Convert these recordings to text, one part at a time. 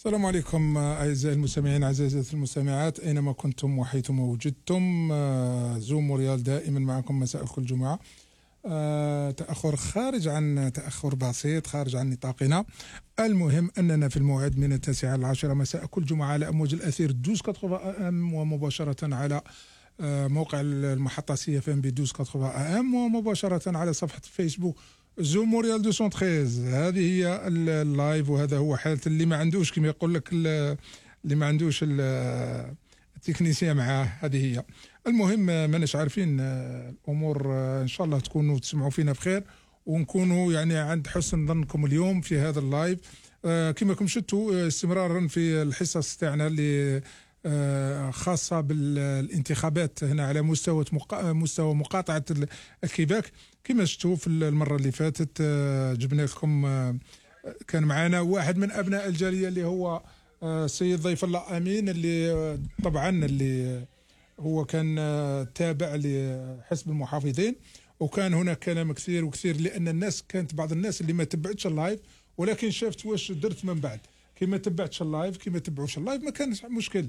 السلام عليكم أعزائي المستمعين أعزائي المستمعات أينما كنتم وحيثما وجدتم. زوم ريال دائما معكم مساء كل جمعة. تأخر خارج عن تأخر بسيط خارج عن نطاقنا. المهم أننا في الموعد من 9 إلى 10 مساء كل جمعة على أمواج الأثير 1280 AM ومباشرة على موقع المحطة سي اف ام ب 1280 AM ومباشرة على صفحة فيسبوك زوم ريال 213. هذه هي اللايف وهذا هو حالة اللي ما عندوش كما يقول لك اللي ما عندوش التكنيسية معاه. هذه هي. المهم ماناش عارفين الأمور. إن شاء الله تكونوا تسمعوا فينا بخير ونكونوا يعني عند حسن ظنكم اليوم في هذا اللايف. كما كم شفتوا استمرارا في الحصص تاعنا اللي خاصة بالانتخابات هنا على مستوى مقاطعة الكيباك. كما شفتوا في المرة اللي فاتت جبنا لكم كان معنا واحد من أبناء الجالية اللي هو السيد ضيف الله أمين، اللي طبعا اللي هو كان تابع لحزب المحافظين، وكان هناك كلام كثير لأن الناس كانت بعض الناس اللي ما تبعتش اللايف ولكن شافت واش درت من بعد. كما تبعتش اللايف كما تبعوش اللايف ما كانش مشكل،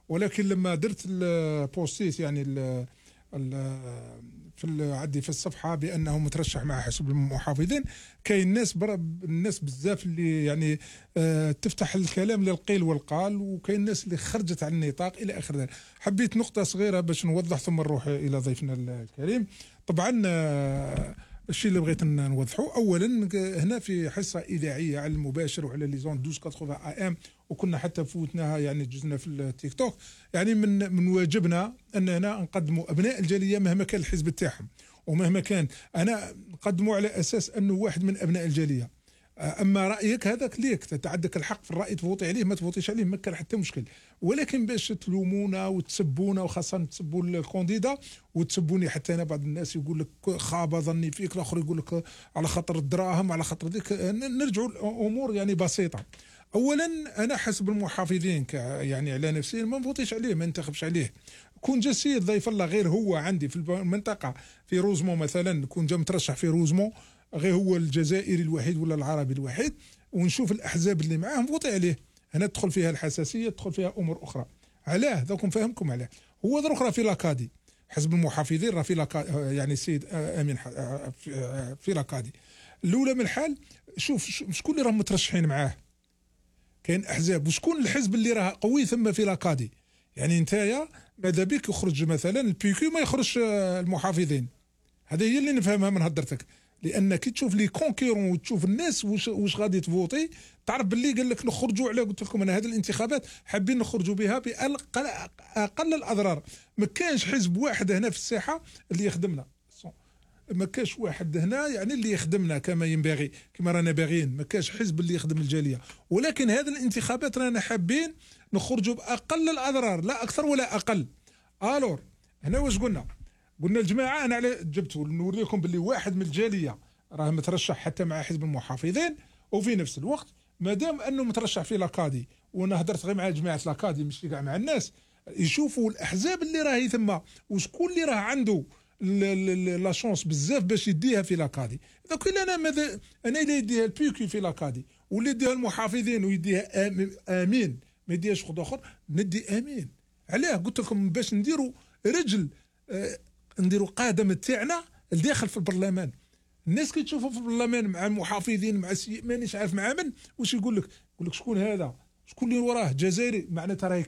ولكن لما درت البوستيت يعني في الصفحه بانه مترشح مع حزب المحافظين، كاين الناس بزاف اللي يعني تفتح الكلام للقيل والقال، وكاين الناس اللي خرجت عن النطاق الى اخر ذلك. حبيت نقطه صغيره باش نوضح ثم نروح الى ضيفنا الكريم. طبعا الشيء اللي بغيت نوضحه اولا هنا في حصه اذاعيه على المباشر وعلى لي زون 1280 AM، وكنا حتى فوتناها يعني جزنا في التيك توك. يعني من واجبنا اننا نقدموا ابناء الجاليه مهما كان الحزب تاعهم ومهما كان انا نقدموا على اساس انه واحد من ابناء الجاليه. اما رايك هذاك ليك عندك الحق في الراي، تفوتي عليه ما تفوتيش عليه ما كان حتى مشكل، ولكن باش تلومونا وتسبونا وخاصه تسبوا الكونديدا وتسبوني حتى انا. بعض الناس يقول لك خاب ظني فيك، الاخر يقول لك على خاطر الدراهم على خاطر ذيك. نرجعوا الامور يعني بسيطه. اولا انا حسب المحافظين يعني على نفسي ما نفوتيش عليه ما ننتخبش عليه. كون جا السيد ضيف الله غير هو عندي في المنطقه في روزمو مثلا، كون جا مترشح في روزمو غير هو الجزائري الوحيد ولا العربي الوحيد، ونشوف الاحزاب اللي معاه نفوتي عليه. هنا تدخل فيها الحساسيه، تدخل فيها امور اخرى. علاه ذاك نفهمكم علاه. هو ذا اخرى في لاكادي حزب المحافظين راه في لاكادي، يعني السيد امين في لاكادي. الاولى من الحال شوف شكون اللي راهم مترشحين معاه. كاين احزاب وشكون الحزب اللي راه قوي ثم في لاكادي. يعني نتايا ماذا بك يخرج مثلا البيكيو ما يخرج المحافظين. هذه هي اللي نفهمها من هدرتك، لان كي تشوف لي كونكيرون وتشوف الناس واش غادي تفوتي تعرف باللي قال لك نخرجوا على. قلت لكم انا هذه الانتخابات حابين نخرجوا بها باقل الاضرار. ما كانش حزب واحد هنا في الساحه اللي يخدمنا، ما كاش واحد هنا يعني اللي يخدمنا كما ينبغي كما رانا باغيين. ما كاش حزب اللي يخدم الجاليه، ولكن هذه الانتخابات رانا حابين نخرجوا باقل الاضرار لا اكثر ولا اقل. الور هنا واش قلنا الجماعه انا على جبت نوريكم باللي واحد من الجاليه راه مترشح حتى مع حزب المحافظين، وفي نفس الوقت مادام انه مترشح في لاكادي، وانا هدرت غير مع جماعه لاكادي مش كاع مع الناس، يشوفوا الاحزاب اللي راهي ثم وشكون اللي راه عنده لا شونس بزاف باش يديها في لاكادي. دوك انا ماذا انا اللي يديها البيكي في لاكادي واللي يديها المحافظين ويديها امين ما يديهاش خد اخر ندي امين. علاه قلت لكم باش نديروا رجل نديروا قادم تاعنا الداخل في البرلمان. الناس كي تشوفوا في البرلمان مع المحافظين مع مانيش عارف مع من واش يقول لك شكون هذا شكون اللي وراه جزائري معناتها راهي